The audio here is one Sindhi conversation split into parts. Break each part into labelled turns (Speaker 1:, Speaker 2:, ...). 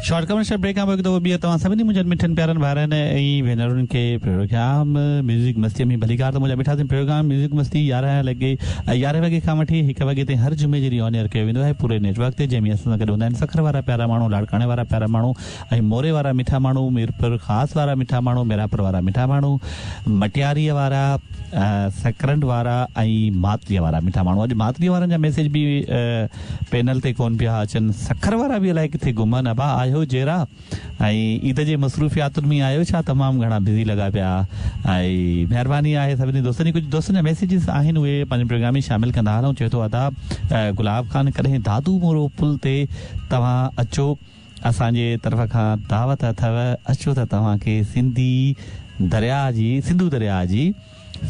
Speaker 1: شارٽ ڪمرشل بريڪ کان پوء هڪ دفعو ٻيهر توهان سڀني منهنجن مٺن پيارن ڀائرن ۽ ڀينرن کي پروگرام ميوزڪ مستي ۾ ڀليڪار ته منهنجا مٺا سائين پروگرام ميوزڪ مستي يارهن لڳي يارهين وڳي کان وٺي هڪ وڳي تائين هر جمعي جي ڏينهن آن ايئر ڪيو ويندو آهي پوري نيٽ ورڪ تي جنهن ۾ اسان سان گڏ هوندا آهن سکر وارا پيارا ماڻهو لاڙڪاڻي وارا پيارا ماڻهو ۽ موري وارا مٺا ماڻهو ميرپور خاص وارا مٺا ماڻهو ميرانپور وارا مٺا ماڻهو مٽياريء وارا سڪرنڊ وارا ۽ ماتليء وارا مٺا ماڻهو اڄ ماتليء وارن جا ميسيج به پينل تي ڪون پيا اچن. سکر وارا به الائي ڪٿي گم آهن. ابا آهيو جيئرا ۽ عيد جي مصروفياتن ۾ آهيو ڇا تمام گهڻا بزي لڳا پيا ۽ مهرباني آهي سڀني دوستن جي ڪجهه دوستن جا ميسيجز آهن اهي پنهنجي پروگرام ۾ شامل ڪندا هلون چئي ٿو ادا گلاب خان ڪڏهن دادو مورو پل تي توهان اچو اسان جي طرف کان دعوت اٿو اچو ته توهان کي سنڌي درياء جي سنڌو درياء جي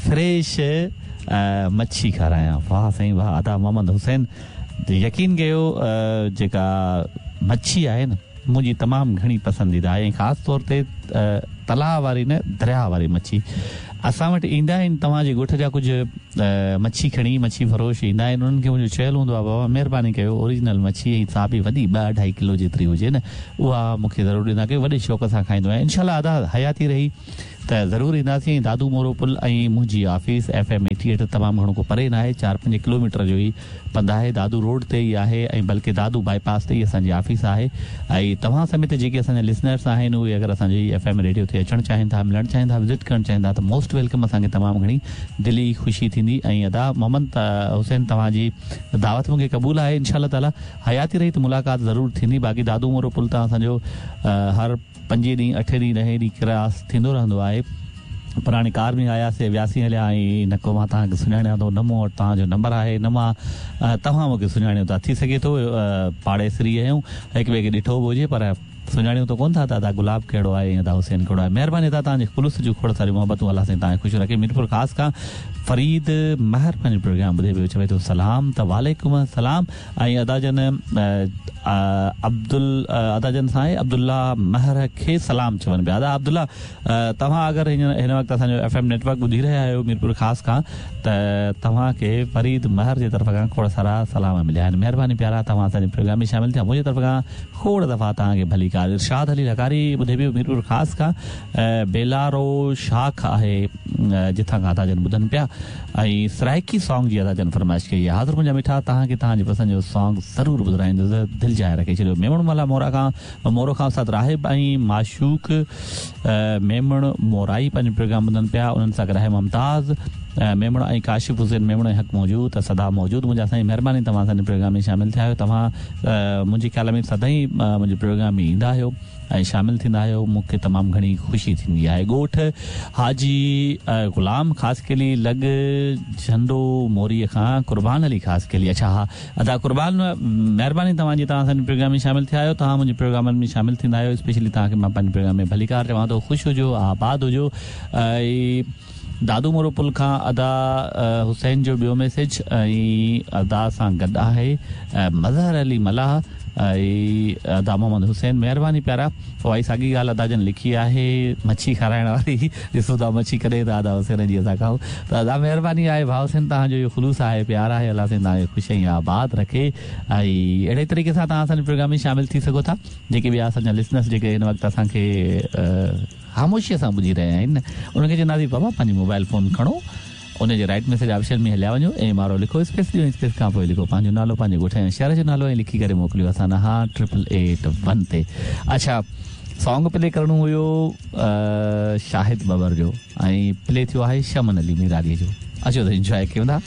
Speaker 1: فريش مڇي کارايان واه سائين واه ادا محمد حسين يقين ڪيو جيڪا مڇي آهي نه منهنجي تمام گهڻي پسنديده آهي ۽ خاص طور تي تلاء واري نه درياء واري مڇي اسان وٽ ايندا آهن توهان جي ڳوٺ جا ڪجهه مڇي کڻي مڇي فروش ايندا آهن انهن کي منهنجو چيل هوندو آهي بابا مهرباني ڪيو اوريجنل مڇي ۽ سا به وڏي ٻه اڍائي ڪلو جيتري هجي نه اها مون کي ضرور ڏيندا ڪيو وڏي شوق سان کائيندو آهيان انشاء الله ادا حياتي رهي ته ضرور اينداسين ۽ دادو مورو پل ۽ منهنجي office F M eighty eight تمام گهڻو ڪو پري ناهي چار پنج ڪلو ميٽر جو ئي پنڌ آهي دادو روڊ تي ئي آهي ۽ بلڪه دادو بائي پاس تي ئي اسان جي آفيس آهي ۽ توهان سميت جيڪي اسان جا لسنرس آهن اهي اگر اسان جي ايف ايم ريڊيو تي اچڻ چاهين ٿا ملڻ چاهين ٿا وزٽ ڪرڻ چاهين ٿا ته موسٽ welcome اسان کي تمام گهڻي دلي خوشي ٿيندي ۽ ادا محمد حسين توهان جي دعوت مون کي قبول آهي انشاء الله تعالي حياتي رهي ته ملاقات ضرور ٿيندي باقي دادو مورو پل تان اسان جو هر پنجين ڏينهن، اٺين ڏينهن، ڏهين ڏينهن ڪراس ٿيندو رهندو آهي. پر هاڻي ڪار ۾ آياسي، وياسين هليا ۽ نه ڪو مان توهان کي سڃاڻيان ٿو، نه مون وٽ توهان جو نمبر آهي، نه مان توهان مون کي سڃاڻيو ٿا. ٿي سگهي ٿو پاڙيسري آهيون، هڪ ٻئي کي ڏٺو به هجي پر سڃاڻيون ته ڪونه ٿا ته ادا گلاب ڪهڙو آهي ۽ ادا حسين ڪهڙو آهي. مهرباني ادا توهان جي خلوص جون کوڙ ساريون محبتون الله سائين توهان کي خوش رکي. ميرپور خاص کان فريد مهر پنهنجو پروگرام ٻڌي پيو چوي ٿو سلام ته وعليڪم السلام. ۽ ادا جن عبدل ادا جن سائين عبدالله مهر کي سلام چون پيا ادا عبدالله توهان اگر هن وقت اسان جو ايف ايم نيٽ ورڪ ٻڌي رهيا آهيو ميرپور خاص کان ته توهان کي فريد مهر جي طرف کان کوڙ سارا سلام مليا آهن مهرباني پيارا توهان اسان جي پروگرام ۾ شامل ٿيا منهنجي طرف کان کوڙ دفعا توهان کي ڀليڪار ارشاد علي لغاري ٻڌي پيو ميرپور خاص کان بيلارو شاخ آهي جتان کان ادا جن ٻڌن پيا ۽ سرائيڪي سانگ جي ادا جن فرمائش ڪئي آهي حاضر منهنجا مٺا توهان کي توهان جي پسند جو سانگ ضرور ٻڌرائيندس دل جاء رکي ڇڏيو ميمڻ ملاح مورا کان مورو کان استاد راهب ۽ معشوق ميمڻ مورائي پنهنجو پروگرام ٻڌن پيا انهن سان گڏ آهي ممتاز ميمڻ ۽ ڪاشف حسين ميمڻ ۽ حق موجود ته سدا موجود منهنجا سائين مهرباني توهان اسان جي پروگرام ۾ شامل ٿيا آهيو توهان منهنجي خيال ۾ سدائين منهنجي پروگرام ۾ ايندا آهيو ۽ شامل ٿيندا آهيو مون کي تمام گهڻي خوشي ٿيندي آهي ڳوٺ حاجي غلام خاصخيلي لڳ جهنڊو موري کان قربان علي خاصخيلي اڇا ها ادا قربان مهرباني توهان جي توهان اسان جي پروگرام ۾ شامل ٿيا آهيو توهان منهنجي پروگرامن ۾ شامل ٿيندا آهيو اسپيشلي توهان کي مان پنهنجي پروگرام ۾ ڀليڪار چوان ٿو خوش هجو آباد هجو ۽ دادو مورو پل کان ادا حسين جو ٻيو ميسيج ۽ ادا سان گڏ آهي مظهر علي ملاح ۽ ادا محمد حسين مهرباني پيارا اها ئي ساڳي ڳالهه ادا جن لکي آهي مڇي کارائڻ واري ڏسون ٿا مڇي ڪڏهن ٿا ادا حسين جي اسان کائون ته ادا مهرباني آهي ڀاء حسين توهان جو اهو خلوص آهي پيار آهي الله سائين توهان کي خوش ۽ آباد رکي ۽ اهڙي طريقي سان توهان اسان جي پروگرام ۾ شامل ٿي سگهو ٿا جيڪي ٻيا اسان جا لسنرس جيڪي هن وقت اسان کي خاموشيء سان ٻڌي رهيا آهن انهن کي چونداسين بابا پنهنجي موبائل فون کڻو ان جي رائيٽ ميسيج آپشن ۾ هليا وڃو ايم آر او لکو اسپيس ڏيو ۽ اسپيس کان پوء لکو پنهنجو نالو پنهنجي ڳوٺ ۽ شهر جو نالو ۽ لکي ڪري موڪليو اسان ڏانهن ٽرپل ايٽ ون تي اڇا سانگ پلي ڪرڻو هيو شاهد ٻٻر جو ۽ پلي ٿيو آهي شمن علي ميرالي جو اچو ته انجواء ڪيون ٿا.